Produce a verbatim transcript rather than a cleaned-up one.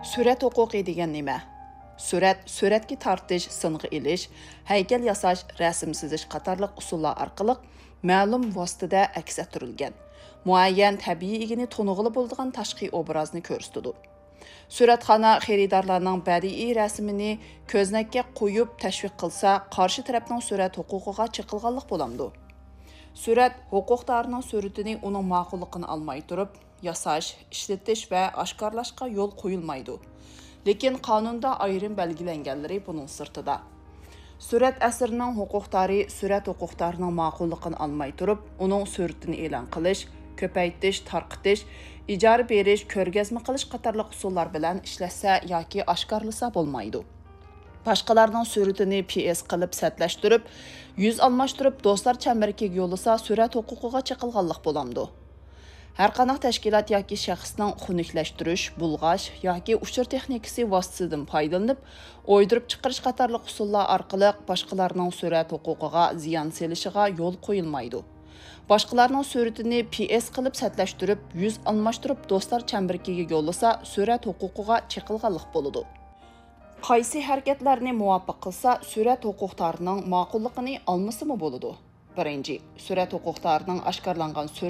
سۈرەت ھوقۇقى دېگەن نېمە؟ سۈرەت، سۈرەتكە تارتىش، سىنغا ئېلىش، ھەيكەل ياساش، رەسىم سىزىش قاتارلىق ئۇسۇللار ئارقىلىق مەلۇم ۋاسىتىدە ئەكس ئەتتۈرۈلگەن، مۇئەييەن تەبىئىي ئىگىنى تونۇغىلى بولىدىغان تاشقى ئوبرازنى كۆرسىتىدۇ. سۈرەتخانا خېرىدارلارنىڭ بەدىئىي رەسىمىنى كۆزنەككە قويۇپ تەشۋىق قىلسا، قارشى تەرەپنىڭ سۈرەت ھوقۇقىغا چېقىلغانلىق بولامدۇ؟ سۈرەت ھوقۇقدارىنىڭ سۈرىتىنى ئۇنىڭ ماقۇللۇقىنى ئالماي تۇرۇپ ياساش، ئىشلىتىش ۋە ئاشكارىلاشقا يول قويۇلمايدۇ. لېكىن قانۇندا ئايرىم بەلگىلەنگەنلىرى بۇنىڭ سىرتىدا. سۈرەت ئەسىرىنىڭ ھوقۇقدارى سۈرەت ھوقۇقدارىنىڭ ماقۇللۇقىنى ئالماي تۇرۇپ، ئۇنىڭ سۈرىتىنى ئېلان قىلىش، كۆپەيتىش، تارقىتىش، ئىجارە بېرىش، كۆرگەزمە قىلىش قاتارلىق ئۇسۇللار بىلەن ئىشلەتسە ياكى ئاشكارىلىسا بولمايدۇ. باشقىلارنىڭ سۈرىتىنى پى ئېس قىلىپ سەتلەشتۈرۈپ، يۈز ئالماشتۇرۇپ دوستلار چەمبىرىكىگە يوللىسا سۈرەت ھوقۇقىغا چېقىلغانلىق بولامدۇ؟ ھەرقانداق تەشكىلات ياكى شەخسنىڭ خۇنۈكلەشتۈرۈش، بۇلغاش ياكى ئۇچۇر تېخنىكىسى ۋاسىتىسىدىن پايدىلىنىپ، ئويدۇرۇپ چىقىرىش قاتارلىق ئۇسۇللار ئارقىلىق باشقىلارنىڭ سۈرەت ھوقۇقىغا زىيان سېلىشىغا يول قويۇلمايدۇ. باشقىلارنىڭ سۈرىتىنى پى ئېس قىلىپ سەتلەشتۈرۈپ، يۈز ئالماشتۇرۇپ دوستلار چەمبىرىكىگە يوللىسا سۈرەت ھوقۇقىغا چېقىلغانلىق بولىدۇ. قايسى ھەرىكەتلەرنى مۇۋاپىق قىلسا سۈرەت ھوقۇقدارىنىڭ ماقۇللۇقىنى ئالمىسىمۇ بولىدۇ؟ بىرىنچى، سۈرەت ھوقۇقدارىنىڭ ئاشكارىلانغان سۈرىتى